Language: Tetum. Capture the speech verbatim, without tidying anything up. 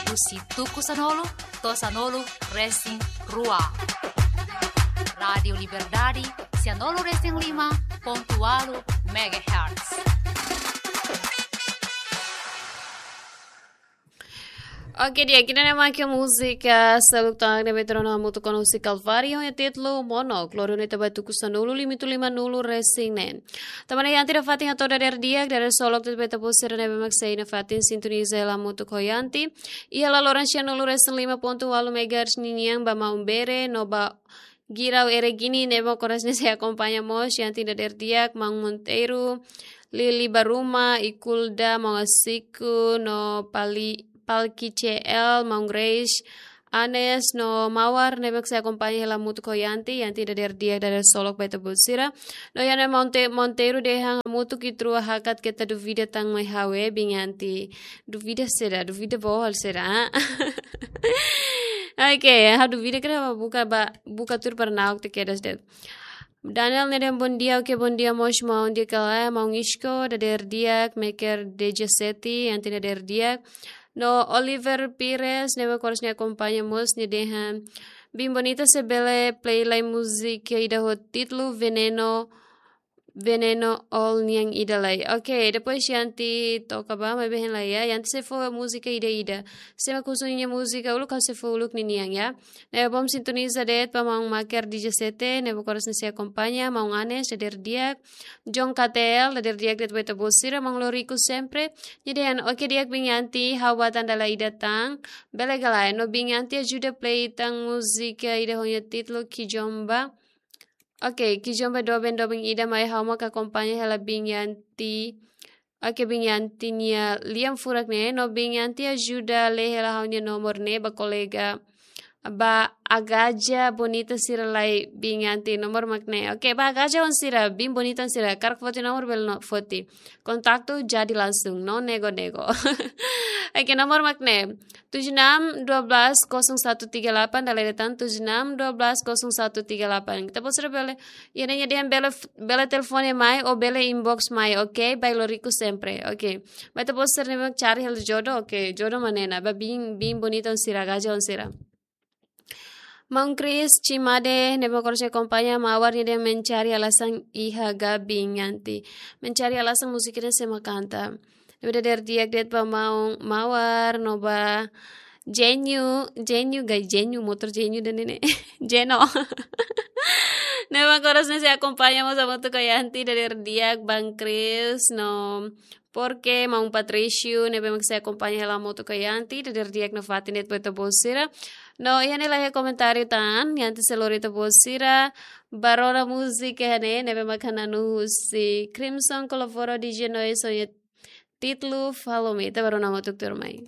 husi tuku sanulu to'o sanulu resin rua. Rádiu Liberdade, sanulu resin lima pontu ualu megahertz. Oke, di'ak, ida-ne'e mak múzika seluk tan ne'ebé tuur ona hamutuk ho Kalvário, ho títulu Monok, lori ona ita ba tuku sanulu limitu lima nulu resin neen. Tanba ne'e Yanti nafatin hato'o dadeer di'ak, dadeer solok de'it ba ita-boot sira ne'ebé mak sei nafatin sintoniza hela hamutuk ho Yanti iha laloran sanulu resin lima pontu ualu megahertz ninian, ba Maun Bere no ba Girau Eregini ne'ebé mak oras ne'e sei akompaña mós Yanti dadeer di'ak, Maun Monteiro, Lili Baruma, Ikulda, Maun Asiku, no Pali, Palki C L, Maun Grace, Anes, no Mawar, ne'ebé mak sei akompaña hela hamutuk ho Yanti, Yanti dadeer di'ak, dadeer solok ba ita-boot sira. No iha ne'e Monte-, Monteiro dehan hamutuk ita rua hakat keta duvida tan mai ha'u, eh, biin Yanti. Duvida saida, duvida bohol saida, ah? Oke, ha'u duvida karik ba buka ba, buka tuur para na'ok te kedas de'it. Daniel ne'e dehan bondia, oke, bondia mós Maun Di'ak ka lae, Maun Isko, dadeer di'ak, Meker D J Seti, Yanti dadeer di'ak. No Oliver Pires, ne'ebé mak oras ne'e akompaña mós, nia dehan, biin Bonita se bele play lai múzika ida ho títulu Veneno, Veneno All nian ida lai. Oke, depois Yanti toka ba, maibé hein lai, ya. Yanti sei fó múzika ida-ida. Sé mak husu ninia múzika uluk, ha'u sei fó uluk ninian, ya. Ne'ebé bom sintoniza de'it ba Maun Maker D J Seti, ne'ebé mak oras ne'e sei akompaña, Maun Anes, dadeer di'ak, John K T L, dadeer di'ak de'it ba ita-boot sira, Maun Loriku sempre, nia dehan, oke di'ak biin Yanti, ha'u ba tanda la ida tan, bele ka lae, no biin Yanti ajuda play tan múzika ida ho nia títulu Kijomba. Oke, Kijomba doben doben ida mai ha'u mak akompaña hela biin Yanti. Oke, biin Yanti nia lian furak ne'e, no biin Yanti ajuda lee hela ha'u-nia nomor ne'e ba kolega. Ba agaja bonita sira lai biin Yanti nomor mak ne'e. Oke, ba agaja on sira, biin bonita on sira, hakarak foti nomor bele no foti. Kontaktu jadi langsung, no nego-nego. Oke, nomor mak ne'e. Tujuh enam dua belas kosong satu tiga delapan, dala ida tan tujuh enam dua belas kosong satu tiga delapan. Ita-boot sira bele, ya, nia dehan bele, bele telefone mai, ou bele inbox mai, oke? Ba Loriku sempre, oke? Ba ita-boot sira ne'ebé mak cari hela jodoh, oke? Jodoh mak ne'e ona, ba biin, biin bonita on sira, agaja on sira. Maun Chris Cimade, ne'ebé mak oras ne'e akompaña, Mawar, nia dehan mencari alasan iha ga biin Yanti. Mencari alasan múzika ne'e sé mak kanta. Ne'ebé dadeer di'ak de'it ba Maun Mawar, no ba Jenyu, Jenyu, gai Jenyu, motor Jenyu ida-ne'e ne'e. Jeno. Ne'ebé mak oras ne'e sei akompaña mós hamutuk ho Yanti, dadeer di'ak, Maun Chris, no Porque, Maun Patricio, ne'ebé mak sei akompaña hela hamutuk ho Yanti, dadeer di'ak nafatin de'it ba ita-boot sira. No, iha ne'e laiha komentáriu tan, Yanti sei lori ita-boot sira ba rona múzika iha ne'e, ne'ebé mak hananu husi Crimson Colaboro D J Noise ho nia títulu Follow Me, ita ba rona hamutuk tuirmai.